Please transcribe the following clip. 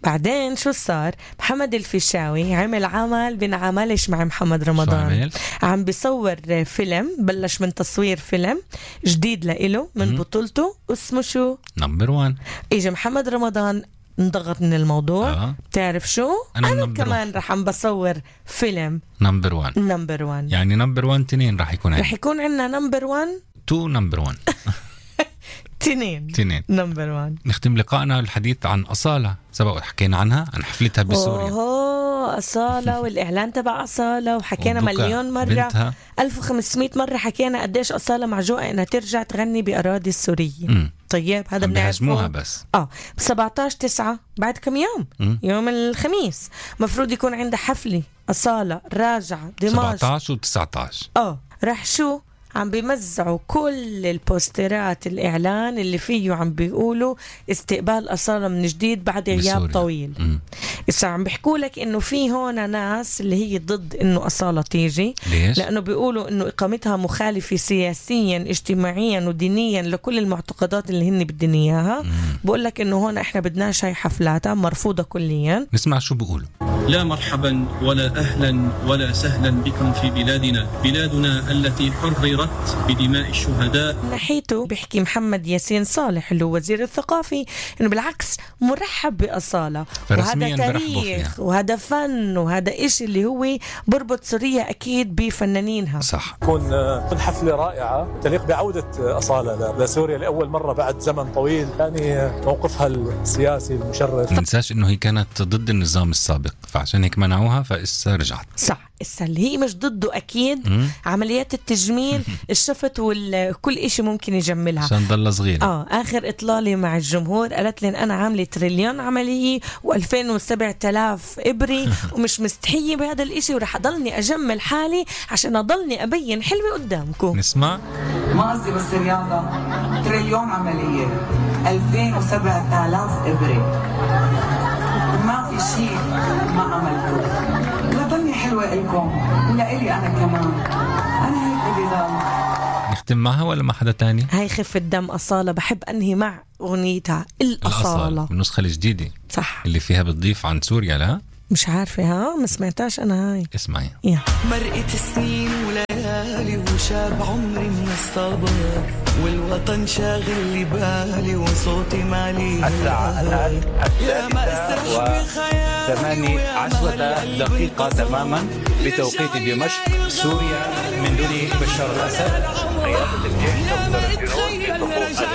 بعدين شو صار؟ محمد الفيشاوي عمل عمل بنعملش مع محمد رمضان. عم بيصور فيلم، بلش من تصوير فيلم جديد لإله من بطولته اسمه شو؟ نمبر 1. إجا محمد رمضان انضغط من الموضوع. بتعرف شو؟ أنا كمان رح بصور فيلم نمبر 1. نمبر 1 يعني نمبر 1 2 رح يكون عندنا. رح يكون عندنا نمبر 1 2 نمبر 1 2 نمبر 1. نختم لقائنا الحديث عن أصالة، سبق حكينا عنها، عن حفلتها بسوريا. أصالة والإعلان تبع أصالة، وحكينا مليون مرة بنتها. 1500 مرة حكينا قديش أصالة معجوقة إنها ترجع تغني بأراضي السورية. طيب هذا بنعرفه بس 17/9 بعد كم يوم. يوم الخميس مفروض يكون عندها حفلة أصالة راجعة دمشق 17 و19. رح شو عم بيمزعوا كل البوسترات الإعلان اللي فيه عم بيقولوا استقبال أصالة من جديد بعد غياب طويل. إذا عم بيحكوا لك إنه في هون ناس اللي هي ضد إنه أصالة تيجي. ليش؟ لأنه بيقولوا إنه إقامتها مخالفة سياسيا اجتماعيا ودينيا لكل المعتقدات اللي هن بدنا إياها. بقول لك إنه هون إحنا بدناش هاي حفلاتها مرفوضة كليا. نسمع شو بيقولوا. لا مرحبا ولا أهلا ولا سهلا بكم في بلادنا التي حررت بدماء الشهداء. ناحيته بيحكي محمد ياسين صالح اللي هو وزير الثقافي إنه بالعكس مرحب بأصالة، وهذا تاريخ وهذا فن وهذا إشي اللي هو بربط سوريا أكيد بفنانينها. صح. تكون حفلة رائعة تليق بعودة أصالة لسوريا لأول مرة بعد زمن طويل. يعني موقفها السياسي المشرف. ننساش إنه هي كانت ضد النظام السابق، فعشان هيك منعوها، فإسا رجعت. صح. إسا اللي هي مش ضده أكيد. عمليات التجميل الشفت وكل إشي ممكن يجملها عشان ضل صغيرة. آخر إطلالي مع الجمهور قالت لي أنا عاملة 1,000,000,000 عملية و2007 إبري ومش مستحية بهذا الإشي، ورح أضلني أجمل حالي عشان أضلني أبين حلوة قدامكم. نسمع. ما قصدي بس رياضة، 1,000,000,000 عملية 2007 إبري، ما في شيء ما عملته. لضلني حلوة إلكم ولإلي أنا كمان. أنا هيك بدي ضل. نختم معها ولا مع حدا تاني؟ هاي خف الدم أصالة، بحب أنهي مع أغنيتها الأصالة النسخة الجديدة. صح. اللي فيها بتضيف عن سوريا. لا مش عارفة، ما سمعتاش أنا هاي. اسمعي. مرقت سنين وليالي وشاب عمري من الصبر، والوطن شاغل لي بالي وصوتي مالي. يا ما اسرح بخيالي 18 دقيقة تماما بتوقيت دمشق سوريا من دون بشار الأسد. قيادة الجيش